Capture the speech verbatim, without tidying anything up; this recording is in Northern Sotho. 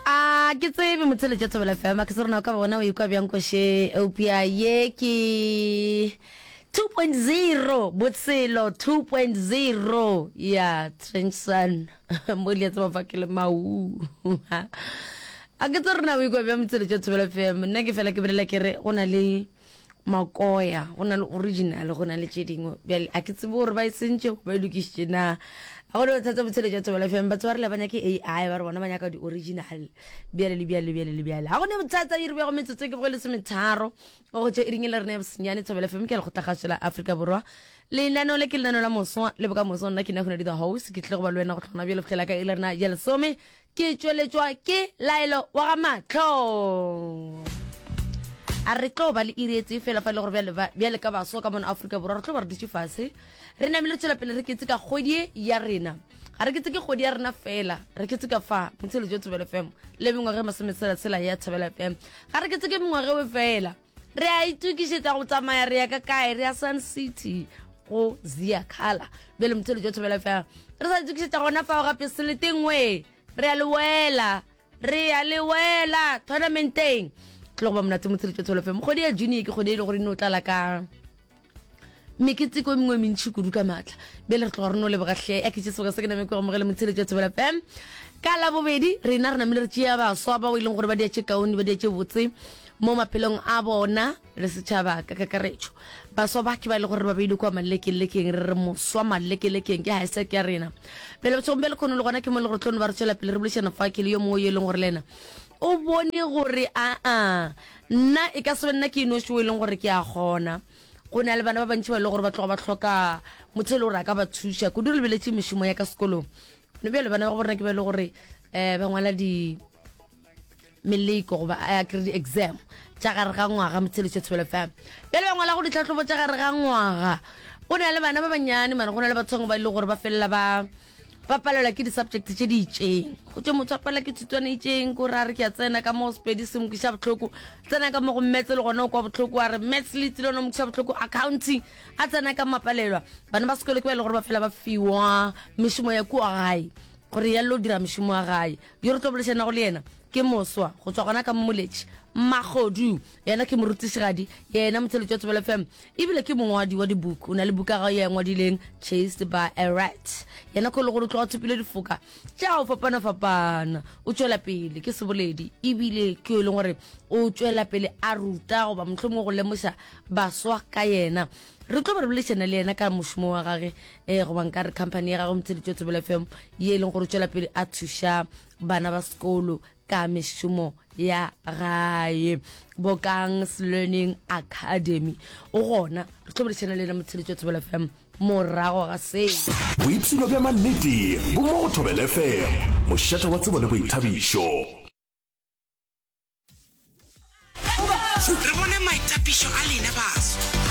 A ke tsebe motheletša Thobela F M, a ke se rena o ka ba bona o ikwa bjang koše, eupša ye ke two point zero, botshelo two point zero ya Trench Sun mo le tseba fa ke le mau. A ke tse rena o ikwa bjang motheletša Thobela F M? Nna ke fela ke bolela ke re go na le makoya, go na le original, go na le tše dingwe. Bjale a ke tsebe gore ba e sentše ba e lokišitše na. A go ne bothata motheletša Thobela F M, batho ba re le ba nyake A I, ba re bona ba nyaka di-original bjale le bjale bjale le bjale. Ga go ne bothata, iri bja go metsotso ke bogo lesometharo go tšwa iring e le rena ya bosenyane. Thobela F M ke lekgotlakgašo la Afrika Borwa, lenaneo le ke lenaneo la moswa le bokamoso. Nna ke nna Hunadi the host, ke tlile go ba le wena go tlhona bjale fihlela ka e le rena ya lesome. Ke tšweletšwa ke Laelo wa ga Mahlo. A re tlo ba le iri e tee fela fa e le gore bjale ba bjale ka baswa ka mona Afrika Borwa re tlo ba re dutše fase re namile re tšwela pele re ketse ka kgwedi ya rena. Ga re ketse ke kgwedi ya rena fela, re ketse ka fa motheletšo Thobela F M le mengwaga e masometshela-tshela ya Thobela F M. Ga re ketse ke mengwaga eo fela, re a itokišetša go tsamaya re ya ka kae, re ya Sun City go Zia Khala. Bjale motheletšo Thobela F M re sa itokišetša gona fao gape seleteng we re a le wela, re a le wela tournamenteng. Tlo go ba monate motheletšo Thobela F M. Kgwedi ya June ke kgwedi e le gore e no tlala ka meketeko e mengwe e mentši kudu ka maatla. Bjale re tloga re no leboga hle, a ke tše sebaka se ke name ke go amogele motheletšo Thobela F M. Ka Labobedi rena re namile re tšea baswa bao e leng gore ba dia tše kaone, ba dia tše botse mo maphelong a bona le setšhaba ka kakaretšo. Baswa ba ke ba e le gore ba beile kwa malekelekeng, re re moswa malekelekeng ke hashtag ya rena. Bjale bošegong bja lekgono le gona ke mo e le gore tlo no ba re tšwela pele re boledišana fa ke le yo mongwe yo e leng gore le yena o bone gore aa nna e ka se be nna ke inoši o e leng gore ke a kgona. Go na le bana ba bantši ba e leng gore ba tloga ba hloka motho e le gore a ka ba thuša kudu. Re lebeletše mešomo ya ka sekolong no bjale bana ba go borena ke ba e le gore um ba ngwala di meleko goba a kry di-exam tša gare ga ngwaga motheletšo Thobela F M. Bjale ba ngwala go ditlhahlobo tša gare ga ngwaga. Go na le bana ba bannyane mane, go na le batho bangwe ba e leng gore ba felela ba ba palelwa ke di-subject tše di itšeng. Go tšwe motho a palelwa ke thutwana e itšeng, ko re a re ke a tsena ka mo Sepedi se mo kweša bohloko, tsena ka mo go maths le gona o kwa bohloko, a re maths le tsile yona mo kweša bohloko, accounting a tsena ka mapalelwa. Bana ba sekolo ke ba e le gore ba fela ba fiwa mešomo ya kua gae gore ya lo dira mešomo ya gae. Yo re tlo boledišanago le yena ke moswa go tswa gona ka Mmoletši Magodu, yena ke morutišigadi, yena motheletši wa Thobela F M, ebile ke mongwadi wa dibuku. O na le buka gagwe ye a ngwadileng Chased by a Rat. Yena ko le gore o tloga thopile difoka tša go fapana-fapana. O tšwela pele ke seboledi, ebile ke yo e leng gore o tšwela pele a ruta goba mohlomongwe go lemoša baswa ka yena. Re tlo ba re boledišana le yena ka mošomo wa gage, eh, goba nka re company ya gagwe motheletši wa Thobela F M, ye e leng gore o tšwela pele a thuša bana ba sekolo ka mešomo ya gae, Bokang's Learning Academy. O gona re tlo boledišana le yena motheletši wa Thobela F M morago ga se. Boipshino bja mannete bo mo go Thobela F M, mošate wa tsebo le boithabišo. Re bone maitapišo a lena baswa.